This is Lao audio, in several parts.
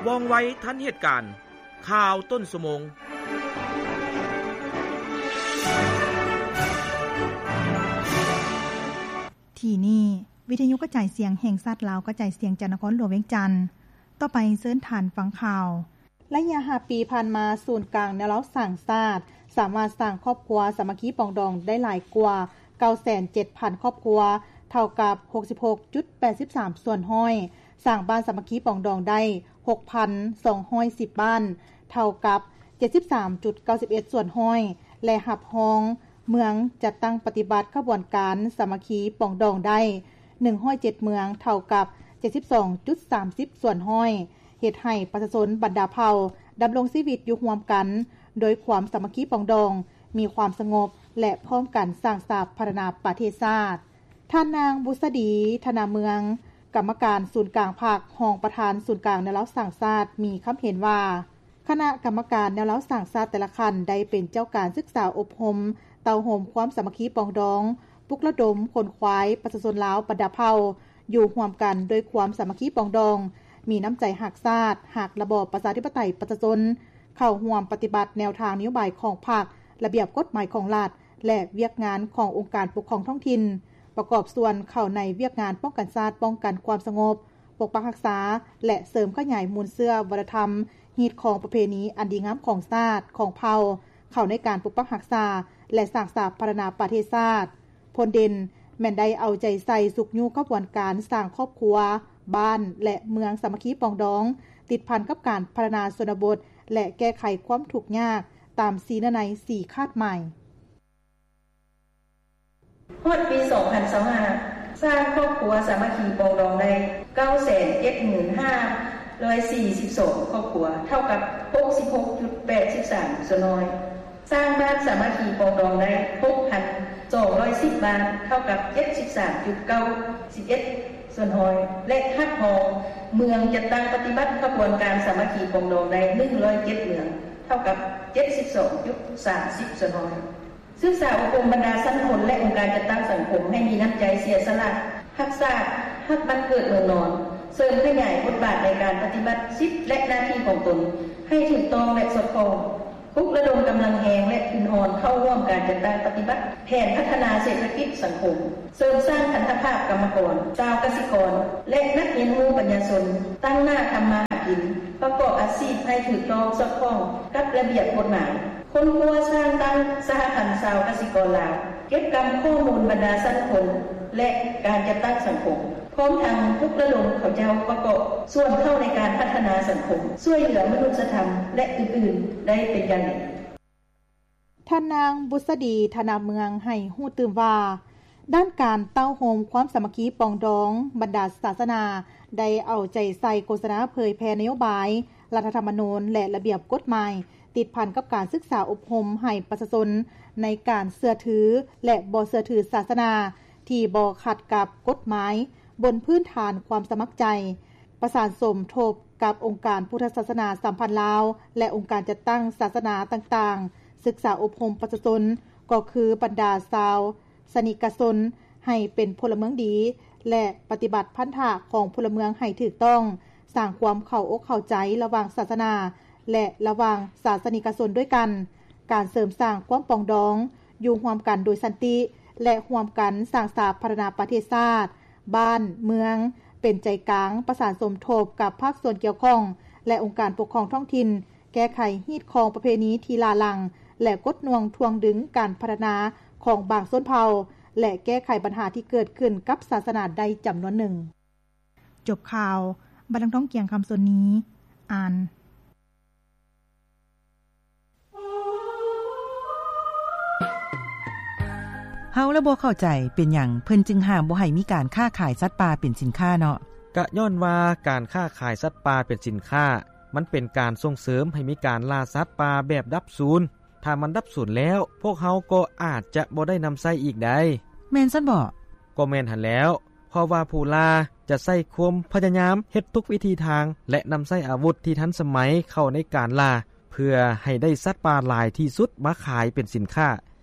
ວ່ອງໄວທັນເຫດການ. ຂ່າວຕົ້ນຊົ່ວໂມງ. ທີ່ນີ້ ວິທະຍຸກະຈາຍສຽງແຫ່ງຊາດລາວ ກະຈາຍສຽງຈາກນະຄອນຫຼວງວຽງຈັນ. ຕໍ່ໄປເຊີນທ່ານຟັງຂ່າວ. ໄລຍະຫ້າປີຜ່ານມາ, ສູນກາງແນວລາວສ້າງຊາດ ສາມາດສ້າງຄອບຄົວສາມັກຄີປອງດອງໄດ້ຫຼາຍກວ່າເກົ້າແສນເຈັດພັນຄອບຄົວ, ເທົ່າກັບຫົກສິບຫົກຈຸດແປດສິບສາມສ່ວນຮ້ອຍ, ສ້າງບ້ານສາມັກຄີປອງດອງໄດ້ຫົກພັນສອງຮ້ອຍສິບບ້ານ, ເທົ່າກັບເຈັດສິບສາມຈຸດເກົ້າສິບເອັດສ່ວນຮ້ອຍ ແລະ ຮັບຮອງເມືອງຈັດຕັ້ງປະຕິບັດຂະບວນການສາມັກຄີປອງດອງໄດ້ໜຶ່ງຮ້ອຍເຈັດເມືອງ, ເທົ່າກັບເຈັດສິບສອງຈຸດສາມສິບສ່ວນຮ້ອຍ, ເຮັດໃຫ້ປະຊາຊົນບັນດາເຜົ່າດຳລົງຊີວິດຢູ່ຮ່ວມກັນໂດຍຄວາມສາມັກຄີປອງດອງ, ມີຄວາມສະຫງົບ ແລະ ພ້ອມກັນສ້າງສາພັດທະນາປະເທດຊາດ. ທ່ານນາງ ບຸດສະດີ ທະນາເມືອງ, ກຳມະການສູນກາງພັກ, ຮອງປະທານສູນກາງແນວລາວສ້າງຊາດ ມີຄຳເຫັນວ່າ ຄະນະກຳມະການແນວລາວສ້າງຊາດແຕ່ລະຂັ້ນ ໄດ້ເປັນເຈົ້າການສຶກສາອົບຮົມ ເຕົ້າໂຮມຄວາມສາມັກຄີປອງດອງ, ປຸກລະດົມຂົນຂວາຍປະຊາຊົນລາວບັນດາເຜົ່າ ຢູ່ຮ່ວມກັນໂດຍຄວາມສາມັກຄີປອງດອງ, ມີນ້ຳໃຈຮັກຊາດ, ຮັກລະບອບປະຊາທິປະໄຕປະຊາຊົນ, ເຂົ້າຮ່ວມປະຕິບັດແນວທາງນະໂຍບາຍຂອງພັກ, ລະບຽບກົດໝາຍຂອງລັດ ແລະ ວຽກງານຂອງອົງການປົກຄອງທ້ອງຖິ່ນ, ປະກອບສ່ວນເຂົ້າໃນວຽກງານປ້ອງກັນຊາດ, ປ້ອງກັນຄວາມສະຫງົບ, ປົກປັກຮັກສາ ແລະ ເສີມຂະຫຍາຍມູນເຊື້ອວັດທະນະທຳ, ຮີດຄອງປະເພນີອັນດີງາມຂອງຊາດ, ຂອງເຜົ່າ, ເຂົ້າໃນການປົກປັກຮັກສາ ແລະ ສ້າງສາພັດທະນາປະເທດຊາດ. ຜົນເດັ່ນແມ່ນໄດ້ເອົາໃຈໃສ່ຊຸກຍູ້ຂະບວນການສ້າງຄອບຄົວ, ບ້ານ ແລະ ເມືອງສາມັກຄີປອງດອງ, ຕິດພັນກັບການພັດທະນາຊົນນະບົດ ແລະ ແກ້ໄຂຄວາມທຸກຍາກຕາມສີ່ເນື້ອໃນສີ່ຄາດໝາຍ. ຮອດປີສອງພັນຊາວຫ້າ ສ້າງຄອບຄົວສາມັກຄີປອງດອງໄດ້ເກົ້າແສນເຈັດໝື່ນຫ້າຮ້ອຍສີ່ສິບສອງຄອບຄົວ, ເທົ່າກັບຫົກສິບຫົກຈຸດແປດສິບສາມສ່ວນຮ້ອຍ. ສ້າງບ້ານສາມັກຄີປອງດອງໄດ້ຫົກພັນສອງຮ້ອຍສິບບ້ານ, ເທົ່າກັບເຈັດສິບສາມຈຸດເກົ້າສິບເອັດສ່ວນຮ້ອຍ ແລະ ຮັບຮອງເມືອງຈັດຕັ້ງປະຕິບັດຂະບວນການສາມັກຄີປອງດອງໄດ້ໜຶ່ງຮ້ອຍເຈັດເມືອງ, ເທົ່າກັບເຈັດສິບສອງຈຸດສາມສິບສ່ວນຮ້ອຍ. ສຶກສາອົບຮົມບັນດາຊັ້ນຄົນ ແລະ ອົງການຈັດຕັ້ງສັງຄົມໃຫ້ມີນ້ຳໃຈເສຍສະຫຼະຮັກຊາດ, ຮັກບ້ານເກີດເມືອງນອນ, ເສີມຂະຫຍາຍບົດບາດໃນການປະຕິບັດສິດ ແລະ ໜ້າທີ່ຂອງຕົນໃຫ້ຖືກຕ້ອງ ແລະ ສອດຄ່ອງ, ປຸກລະດົມກຳລັງແຮງ ແລະ ທຶນຮອນເຂົ້າຮ່ວມການຈັດຕັ້ງປະຕິບັດແຜນພັດທະນາເສດຖະກິດສັງຄົມ, ເສີມສ້າງພັນທະພາບກຳມະກອນ, ຊາວກະສິກອນ ແລະ ນັກຮຽນຮູ້ປັນຍາຊົນ, ຕັ້ງໜ້າທຳມາຫາກິນ, ປະກອບອາຊີບໃຫ້ຖືກຕ້ອງສອດຄ່ອງກັບລະບຽບກົດໝາຍ. ຄົ້ນຄວ້າສ້າງຕັ້ງສະຫະພັນຊາວກະສິກອນລາວ, ເກັບກຳຂໍ້ມູນບັນດາຊັ້ນຄົນ ແລະ ການຈັດຕັ້ງສັງຄົມ, ພ້ອມທັງປຸກລະດົມເຂົາເຈົ້າປະກອບສ່ວນເຂົ້າໃນການພັດທະນາສັງຄົມ, ຊ່ວຍເຫຼືອມະນຸດສະທຳ ແລະ ອື່ນໆ ໄດ້ເປັນຢ່າງດີ. ທ່ານນາງ ບຸດສະດີ ທະນາເມືອງ ໃຫ້ຮູ້ຕື່ມວ່າ ດ້ານການເຕົ້າໂຮມຄວາມສາມັກຄີປອງດອງ, ບັນດາສາສະໜາໄດ້ເອົາໃຈໃສ່ໂຄສະນາເຜີຍແຜ່ນະໂຍບາຍ, ລັດຖະທຳມະນູນ ແລະ ລະບຽບກົດໝາຍ ຕິດພັນກັບການສຶກສາອົບຮົມໃຫ້ປະຊາຊົນໃນການເຊື່ອຖື ແລະ ບໍ່ເຊື່ອຖືສາສະໜາທີ່ບໍ່ຂັດກັບກົດໝາຍ ບົນພື້ນຖານຄວາມສະໝັກໃຈ, ປະສານສົມທົບກັບອົງການພຸດທະສາສະໜາສຳພັນລາວ ແລະ ອົງການຈັດຕັ້ງສາສະໜາຕ່າງໆ, ສຶກສາອົບຮົມປະຊາຊົນ ກໍຄືບັນດາຊາວສະນິກະຊົນ ໃຫ້ເປັນພົນລະເມືອງດີ ແລະ ປະຕິບັດພັນທະຂອງພົນລະເມືອງໃຫ້ຖືກຕ້ອງ, ສ້າງຄວາມເຂົ້າອົກເຂົ້າໃຈລະຫວ່າງສາສະໜາ ແລະ ລະຫວ່າງສາສະນິກະຊົນດ້ວຍກັນ, ການເສີມສ້າງຄວາມປອງດອງ, ຢູ່ຮ່ວມກັນໂດຍສັນຕິ ແລະ ຮ່ວມກັນສ້າງສາພັດທະນາປະເທດຊາດ, ບ້ານ, ເມືອງ ເປັນໃຈກາງ, ປະສານສົມທົບກັບພາກສ່ວນກ່ຽວຂ້ອງ ແລະ ອົງການປົກຄອງທ້ອງຖິ່ນ, ແກ້ໄຂຮີດຄອງປະເພນີທີ່ຫຼ້າຫຼັງ ແລະ ກົດໜ່ວງຖ່ວງດຶງການພັດທະນາຂອງບາງຊົນເຜົ່າ ແລະ ແກ້ໄຂບັນຫາທີ່ເກີດຂຶ້ນກັບສາສະໜາໄດ້ຈຳນວນໜຶ່ງ. ຈົບຂ່າວ, ບັດນາງ ທອງກຽງ ຄຳສົນນີ ອ່ານ. ເຮົາລະບໍ່ເຂົ້າໃຈ ເປັນຫຍັງເພິ່ນຈຶ່ງຫ້າມບໍ່ໃຫ້ມີການຄ້າຂາຍສັດປ່າເປັນສິນຄ້າເນາະ? ກະຍ້ອນວ່າການຄ້າຂາຍສັດປ່າເປັນສິນຄ້າ ມັນເປັນການສົ່ງເສີມໃຫ້ມີການລ່າສັດປ່າແບບດັບສູນ. ຖ້າມັນດັບສູນແລ້ວ, ພວກເຮົາກໍອາດຈະບໍ່ໄດ້ນຳໃຊ້ອີກໄດ໋. ແມ່ນຊັ້ນເບາະ? ກໍແມ່ນຫັ້ນແລ້ວ. ເພາະວ່າຜູ້ລ່າຈະໃຊ້ຄວາມພະຍາຍາມເຮັດທຸກວິທີທາງ ແລະ ນຳໃຊ້ອາວຸດທີ່ທັນສະໄໝເຂົ້າໃນການລ່າ ເພື່ອໃຫ້ໄດ້ສັດປ່າຫຼາຍທີ່ສຸດມາຂາຍເປັນສິນຄ້າ.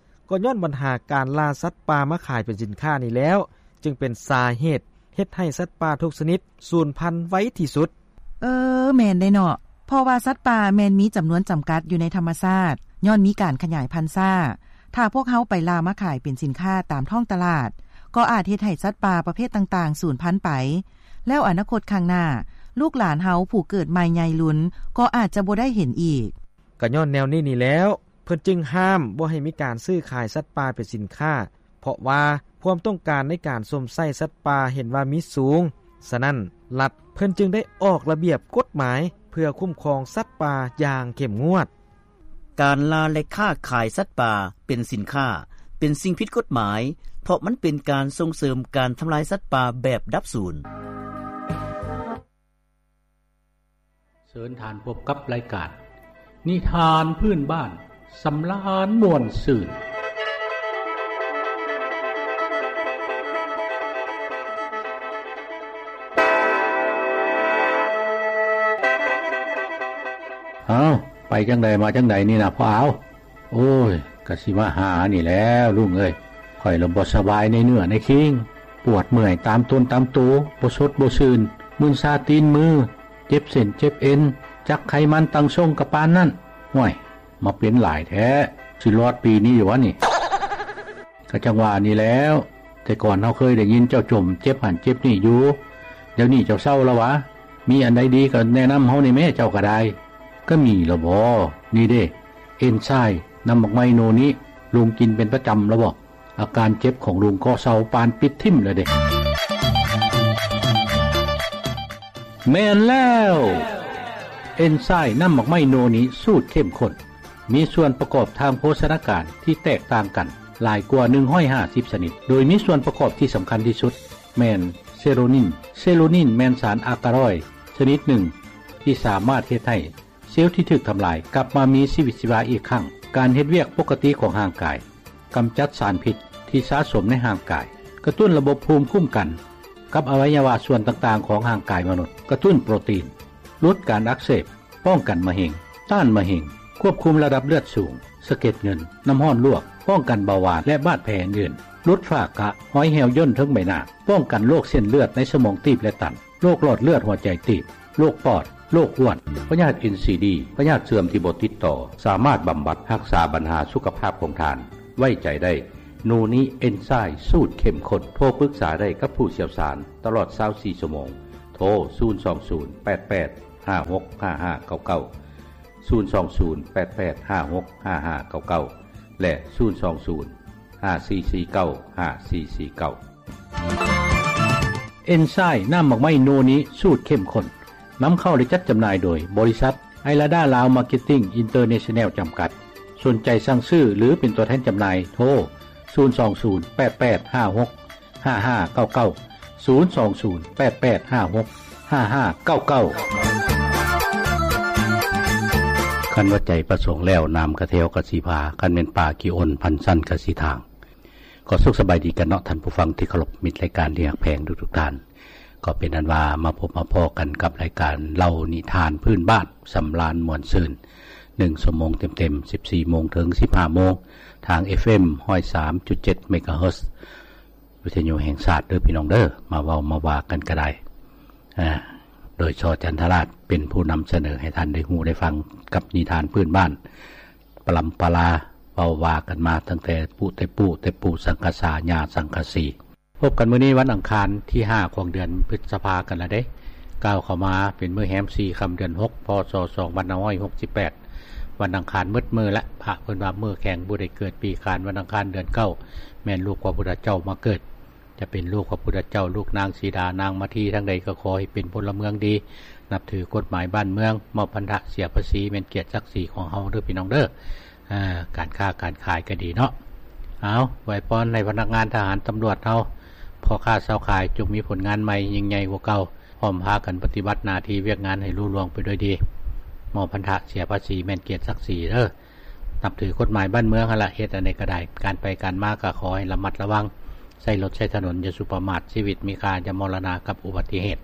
ກໍຍ້ອນບັນຫາການລ່າສັດປ່າມາຂາຍເປັນສິນຄ້ານີ້ແລ້ວ ຈຶ່ງເປັນສາເຫດເຮັດໃຫ້ສັດປ່າທຸກຊະນິດສູນພັນໄວທີ່ສຸດ. ເອີ ແມ່ນເດ້ເນາະ ເພາະວ່າສັດປ່າແມ່ນມີຈຳນວນຈຳກັດຢູ່ໃນທຳມະຊາດ ຍ້ອນມີການຂະຫຍາຍພັນຊ້າ. ຖ້າພວກເຮົາໄປລ່າມາຂາຍເປັນສິນຄ້າຕາມທ້ອງຕະຫຼາດ ກໍອາດເຮັດໃຫ້ສັດປ່າປະເພດຕ່າງໆສູນພັນໄປ, ແລ້ວອະນາຄົດຂ້າງໜ້າ ລູກຫຼານເຮົາຜູ້ເກີດໃໝ່ໃຫຍ່ລຸນກໍອາດຈະບໍ່ໄດ້ເຫັນອີກ. ກໍຍ້ອນແນວນີ້ນີ້ແລ້ວ ເພິ່ນຈຶ່ງຫ້າມບໍ່ໃຫ້ມີການຊື້ຂາຍສັດປ່າເປັນສິນຄ້າ ເພາະວ່າຄວາມຕ້ອງການໃນການຊົມໃຊ້ສັດປ່າເຫັນວ່າມີສູງ. ສະນັ້ນ ລັດເພິ່ນຈຶ່ງໄດ້ອອກລະບຽບກົດໝາຍເພື່ອຄຸ້ມຄອງສັດປ່າຢ່າງເຂັ້ມງວດ. ການລ່າ ແລະ ຄ້າຂາຍສັດປ່າເປັນສິນຄ້າ ເປັນສິ່ງຜິດກົດໝາຍ ເພາະມັນເປັນການສົ່ງເສີມການທຳລາຍສັດປ່າແບບດັບສູນ. ເຊີນທ່ານພົບກັບລາຍການນິທານພື້ນບ້ານ ສຳລານມ່ວນຊື່ນ. ອ້າວ ໄປຈັ່ງໃດມາຈັ່ງໃດນີ້ນະພໍ່ອາວ? ໂອ້ຍ ກະຊິມາຫານີ້ແຫຼ້ວລຸງເອີຍ, ຂ້ອຍລະບໍ່ສະບາຍໃນເນື້ອໃນຄີງ, ປວດເມື່ອຍຕາມຕົນຕາມໂຕ, ບໍ່ສົດບໍ່ຊື່ນ, ມຶນຊາຕີນມື, ເຈັບເສັ້ນເຈັບເອັນ, ຈັກໄຂມັນຕັ້ງຊົງກະປານນັ້ນ. ຫ້ວຍ ມາເປັນຫຼາຍແທ້, ຊິລອດປີນີ້ຢູ່ຫວານີ້? ກະຈັ່ງວ່ານີ້ແຫຼ້ວ, ແຕ່ກ່ອນເຮົາເຄີຍໄດ້ຍິນເຈົ້າຈົ່ມເຈັບຫັ້ນເຈັບນີ້ຢູ່, ດຽວນີ້ເຈົ້າເຊົາລະຫວາ? ມີອັນໃດດີກະແນະນຳເຮົາແດ່ແມ້ ເຈົ້າກະໄດ້. ກະມີລະບໍ? ນີ້ເດ້ ເອັນຊາຍ ນ້ຳໝາກໄມ້ໂນນິ ລຸງກິນເປັນປະຈຳລະບໍ? ອາການເຈັບຂອງລຸງກໍເຊົາປານປິດຖິ້ມແລ້ວເດ້. ແມ່ນແລ້ວ ເອັນຊາຍ ນ້ຳໝາກໄມ້ໂນນິ ສູດເຂັ້ມຂຸ້ນ ມີສ່ວນປະກອບທາງໂພຊະນາການທີ່ແຕກຕ່າງກັນຫຼາຍກວ່າໜຶ່ງຮ້ອຍຫ້າສິບຊະນິດ, ໂດຍມີສ່ວນປະກອບທີ່ສຳຄັນທີ່ສຸດແມ່ນເຊໂຣນິນ. ເຊໂຣນິນແມ່ນສານອາກາຣອຍຊະນິດໜຶ່ງ ທີ່ສາມາດເຮັດໃຫ້ ເຊວທີ່ຖືກທຳລາຍກັບມາມີຊີວິດຊີວາອີກຄັ້ງ, ການເຮັດວຽກປົກກະຕິຂອງຮ່າງກາຍ, ກຳຈັດສານພິດທີ່ສະສົມໃນຮ່າງກາຍ, ກະຕຸ້ນລະບົບພູມຄຸ້ມກັນກັບອະໄວຍະວະສ່ວນຕ່າງໆຂອງຮ່າງກາຍມະນຸດ, ກະຕຸ້ນໂປຣຕີນ, ຫຼຸດການອັກເສບ, ປ້ອງກັນມະເຮັງ, ຕ້ານມະເຮັງ, ຄວບຄຸມລະດັບເລືອດສູງ, ສະເກັດເງິນ, ນ້ຳຮ້ອນລວກ, ປ້ອງກັນເບົາຫວານ ແລະ ບາດແຜອື່ນໆ, ຫຼຸດຝ້າກະ, ຮອຍແຫ້ວຍ່ນເທິງໃບໜ້າ, ປ້ອງກັນໂລກເສັ້ນເລືອດໃນສະໝອງຕີບ ແລະ ຕັນ. ໂລກຫຼອດເລືອດຫົວໃຈຕີບ, ໂລກປອດ, ໂລກອ້ວນ, ພະຍາດເອັນຊີດີ, ພະຍາດເສື່ອມທີ່ບໍ່ຕິດຕໍ່, ສາມາດບຳບັດຮັກສາບັນຫາສຸຂະພາບຂອງທ່ານ. ໄວ້ໃຈໄດ້ ໂນນິເອັນຊາຍສູດເຂັ້ມຂຸ້ນ. ໂທປຶກສາໄດ້ກັບຜູ້ຊ່ຽວຊານຕະຫຼອດຊາວສີ່ຊົ່ວໂມງ. ໂທ ສູນສອງສູນ ແປດແປດ ຫ້າຫົກ ຫ້າຫ້າເກົ້າເກົ້າ, ສູນສອງສູນ ແປດແປດ ຫ້າຫົກ ຫ້າຫ້າເກົ້າເກົ້າ ແລະ ສູນສອງສູນ ຫ້າສີ່ສີ່ເກົ້າ ຫ້າສີ່ສີ່ເກົ້າ. ເອັນຊາຍ ນ້ຳໝາກໄມ້ໂນນິ ສູດເຂັ້ມຂຸ້ນ ນຳເຂົ້າ ແລະ ຈັດຈຳໜ່າຍໂດຍ ບໍລິສັດ ໄອລາດາ ລາວ ມາເກັດຕິງ ອິນເຕີເນຊັນແນວ ຈຳກັດ. ສົນໃຈສັ່ງຊື້ ຫຼື ເປັນຕົວແທນຈຳໜ່າຍ ໂທ ສູນສອງສູນ ແປດແປດ ຫ້າຫົກ ຫ້າຫ້າເກົ້າເກົ້າ, ສູນສອງສູນ ແປດແປດ ຫ້າຫົກ ຫ້າຫ້າເກົ້າເກົ້າ. ຄັນວ່າໃຈປະສົງແລ້ວ ນ້ຳກະແຖວກະຊິພາ, ຄັນແມ່ນປ່າຂີ້ອົນ ພັນຊັ້ນກະຊິທາງ. ກໍສຸກສະບາຍດີກັນເນາະ ທ່ານຜູ້ຟັງທີ່ເຄົາລົບ, ມິດລາຍການທີ່ຮັກແພງທຸກໆທ່ານ. ກໍເປັນອັນວ່າມາພົບມາພໍ້ກັນກັບລາຍການເລົ່ານິທານພື້ນບ້ານ ສຳລານມ່ວນຊື່ນ ໜຶ່ງຊົ່ວໂມງເຕັມໆ ສິບສີ່ໂມງເຖິງສິບຫ້າໂມງ ທາງ ເອັຟເອັມ ຮ້ອຍສາມຈຸດເຈັດ ເມກາເຮີດ ວິທະຍຸແຫ່ງຊາດເດີພີ່ນ້ອງເດີ. ມາເວົ້າມາວ່າກັນກະໄດ້ ອາ ໂດຍ ຊ ຈັນທະລາດ ເປັນຜູ້ນຳສະເໜີໃຫ້ທ່ານໄດ້ຮູ້ໄດ້ຟັງກັບນິທານພື້ນບ້ານ ປະລຳປະລາ ເວົ້າວ່າກັນມາຕັ້ງແຕ່ປູ້ແຕ່ປູ້ ແຕ່ປູ່ສັງກະສາ ຍ່າສັງກະສີ. ພົບກັນມື້ນີ້ວັນອັງຄານທີຫ້າຂອງເດືອນພຶດສະພາກັນລະເດ້. ກ້າວເຂົ້າມາເປັນມື້ແຮມສີ່ຄ່ຳເດືອນຫົກ ພ.ສ. ສອງພັນຫ້າຮ້ອຍຫົກສິບແປດ ວັນອັງຄານໝົດມື້ລະ. ພະເພິ່ນວ່າມື້ແຂງ ຜູ້ໃດເກີດປີຂານ ວັນອັງຄານເດືອນເກົ້າ ແມ່ນລູກພະພຸດທະເຈົ້າມາເກີດ. ຈະເປັນລູກພະພຸດທະເຈົ້າ ລູກນາງສີດາ ນາງມາທີ ທາງໃດກໍຂໍໃຫ້ເປັນພົນລະເມືອງດີ ນັບຖືກົດໝາຍບ້ານເມືອງ. ມອບພັນທະເສຍພາສີແມ່ນກຽດສັກສີຂອງເຮົາເດີພີ່ນ້ອງເດີ. ອາ ການຄ້າການຂາຍກໍດີເນາະ. ເອົາ ອວຍພອນໃຫ້ພະນັກງານທະຫານຕຳຫຼວດເຮົາ ພໍ່ຄ້າຊາວຂາຍ ຈົ່ງມີຜົນງານໃໝ່ຍິ່ງໃຫຍ່ກວ່າເກົ່າ ພ້ອມພາກັນປະຕິບັດໜ້າທີ່ວຽກງານໃຫ້ລຸລ່ວງໄປດ້ວຍດີ. ມອບພັນທະເສຍພາສີແມ່ນກຽດສັກສີເດີ. ນັບຖືກົດໝາຍບ້ານເມືອງຫັ້ນລະ ເຮັດອັນໃດກໍໄດ້. ການໄປການມາກໍຂໍໃຫ້ລະມັດລະວັງ, ໃຊ້ລົດໃຊ້ຖະໜົນຢ່າສຸປະໝາດ, ຊີວິດມີຄ່າ ຢ່າມໍລະນະກັບອຸບັດຕິເຫດ.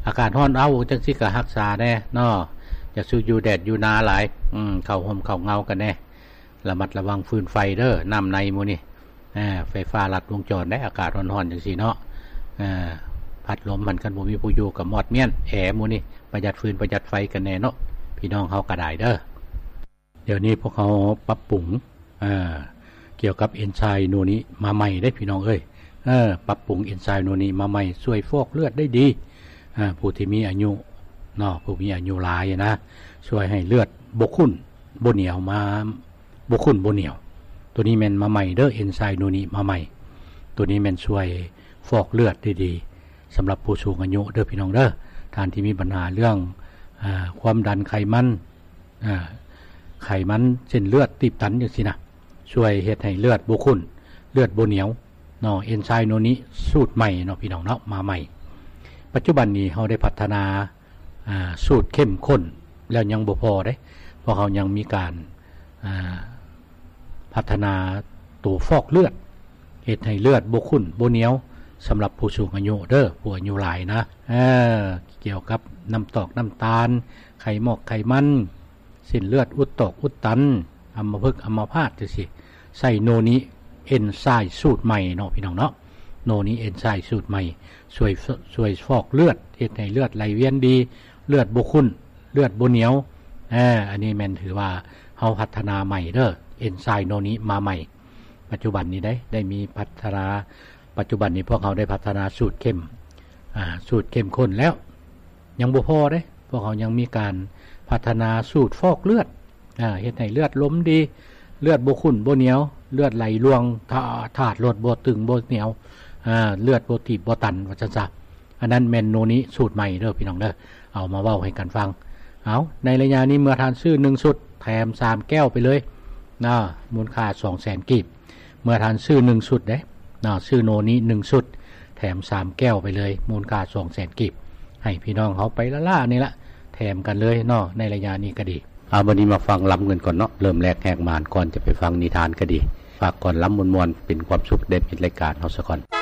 ອາກາດຮ້ອນເອົ້າຈັ່ງຊີ້ກໍຮັກສາແດ່ເນາະ, ຢ່າສູ່ຢູ່ແດດຢູ່ໜາຫຼາຍ, ເຂົ້າຮົ່ມເຂົ້າເງົາກັນແດ່. ລະມັດລະວັງຟືນໄຟເດີ, ນ້ຳໃນມື້ນີ້ ອາ ໄຟຟ້າລັດວົງຈອນໄດ໋ ອາກາດຮ້ອນໆຈັ່ງຊີ້ເນາະ. ອາ ພ ອັດລົມຫັ້ນ ຄັນບໍ່ມີຜູ້ຢູ່ກໍມອດມ້ຽນແອ ໝູ່ນີ້ປະຢັດຟືນປະຢັດໄຟກັນແດ່ເນາະ ພີ່ນ້ອງເຮົາກໍໄດ້ເດີ. ດຽວນີ້ພວກເຮົາປັບປຸງ ເອີ ກ່ຽວກັບເອນໄຊໂນນີ້ມາໃໝ່ເດ້ພີ່ນ້ອງເອີຍ. ເອີ ປັບປຸງເອນໄຊໂນນີ້ມາໃໝ່ ຊ່ວຍຟອກເລືອດໄດ້ດີ. ເອີ ຜູ້ທີ່ມີອາຍຸເນາະ ຜູ້ມີອາຍຸຫຼາຍນະ ຊ່ວຍໃຫ້ເລືອດບໍ່ຂຸ້ນບໍ່ໜຽວ ມາ ບໍ່ຂຸ້ນບໍ່ໜຽວ. ໂຕນີ້ແມ່ນມາໃໝ່ເດີ ເອນໄຊໂນນີ້ມາໃໝ່. ໂຕນີ້ແມ່ນຊ່ວຍຟອກເລືອດໄດ້ດີ ສຳລັບຜູ້ສູງອາຍຸເດີພີ່ນ້ອງເດີ. ທ່ານທີ່ມີບັນຫາເລື່ອງ ອາ ຄວາມດັນ ໄຂມັນ ອາ ໄຂມັນ ເສັ້ນເລືອດຕີບຕັນຈັ່ງຊີ້ນະ ຊ່ວຍເຮັດໃຫ້ເລືອດບໍ່ຂຸ້ນ ເລືອດບໍ່ໜຽວເນາະ. ເອນໄຊໂນນີ້ສູດໃໝ່ເນາະພີ່ນ້ອງເນາະ ມາໃໝ່. ປັດຈຸບັນນີ້ເຮົາໄດ້ພັດທະນາ ອາ ສູດເຂັ້ມຂຸ້ນແລ້ວຍັງບໍ່ພໍເດ້ ພວກເຮົາຍັງມີການ ອາ ພັດທະນາໂຕຟອກເລືອດ ເຮັດໃຫ້ເລືອດບໍ່ຂຸ້ນບໍ່ໜຽວ ສຳລັບຜູ້ສູງອາຍຸເດີ ຜູ້ອາຍຸຫຼາຍນະ. ເອີ ກ່ຽວກັບນ້ຳຕອກນ້ຳຕານ ໄຂໝອກໄຂມັນ ເສັ້ນເລືອດອຸດຕອກອຸດຕັນ ອຳມະພຶກອຳມະພາດຈັ່ງຊີ້ ໃຊ້ໂນນິເອນໄຊສູດໃໝ່ເນາະພີ່ນ້ອງເນາະ. ໂນນິເອນໄຊສູດໃໝ່ ຊ່ວຍ ຊ່ວຍຟອກເລືອດ ເຮັດໃຫ້ເລືອດໄຫຼວຽນດີ ເລືອດບໍ່ຂຸ້ນ ເລືອດບໍ່ໜຽວ. ເອີ ອັນນີ້ແມ່ນຖືວ່າເຮົາພັດທະນາໃໝ່ເດີ ເອນໄຊໂນນິມາໃໝ່. ປັດຈຸບັນນີ້ໄດ້ ໄດ້ມີພັດທະນາ ປັດຈຸບັນນີ້ພວກເຮົາໄດ້ພັດທະນາສູດເຂັ້ມ ອາ ສູດເຂັ້ມຂຸ້ນແລ້ວ ຍັງບໍ່ພໍເດ້ ພວກເຮົາຍັງມີການພັດທະນາສູດຟອກເລືອດ ອາ ເຮັດໃຫ້ເລືອດລົມດີ ເລືອດບໍ່ຂຸ້ນບໍ່ໜຽວ ເລືອດໄຫຼລ່ວງ ທາ ທາດລົດບໍ່ຕຶງບໍ່ໜຽວ ອາ ເລືອດບໍ່ຕີບບໍ່ຕັນ ວ່າຊັ້ນຊະ. ອັນນັ້ນແມ່ນໂນນິສູດໃໝ່ເດີພີ່ນ້ອງເດີ ເອົາມາເວົ້າໃຫ້ກັນຟັງ. ເອົາ ໃນໄລຍະນີ້ເມື່ອທ່ານຊື້ໜຶ່ງຊຸດ ແຖມສາມແກ້ວໄປເລີຍນະ ມູນຄ່າສອງແສນກີບ. ເມື່ອທ່ານຊື້ໜຶ່ງຊຸດເດ້ນະ ຊື້ໂນນິໜຶ່ງຊຸດ ແຖມສາມແກ້ວໄປເລີຍ ມູນຄ່າສອງແສນກີບ ໃຫ້ພີ່ນ້ອງເຮົາໄປລ້າໆນີ້ລະ ແຖມກັນເລີຍເນາະ ໃນໄລຍະນີ້ກໍດີ. ເອົາ ບັດນີ້ມາຟັງລຳກັນກ່ອນເນາະ ເລີ່ມແລກແຫກມານ ກ່ອນຈະໄປຟັງນິທານກໍດີ ຝາກກ່ອນລຳມ່ວນໆ ເປັນຄວາມສຸກແດ່ມິດລາຍການເຮົາສາກ່ອນ.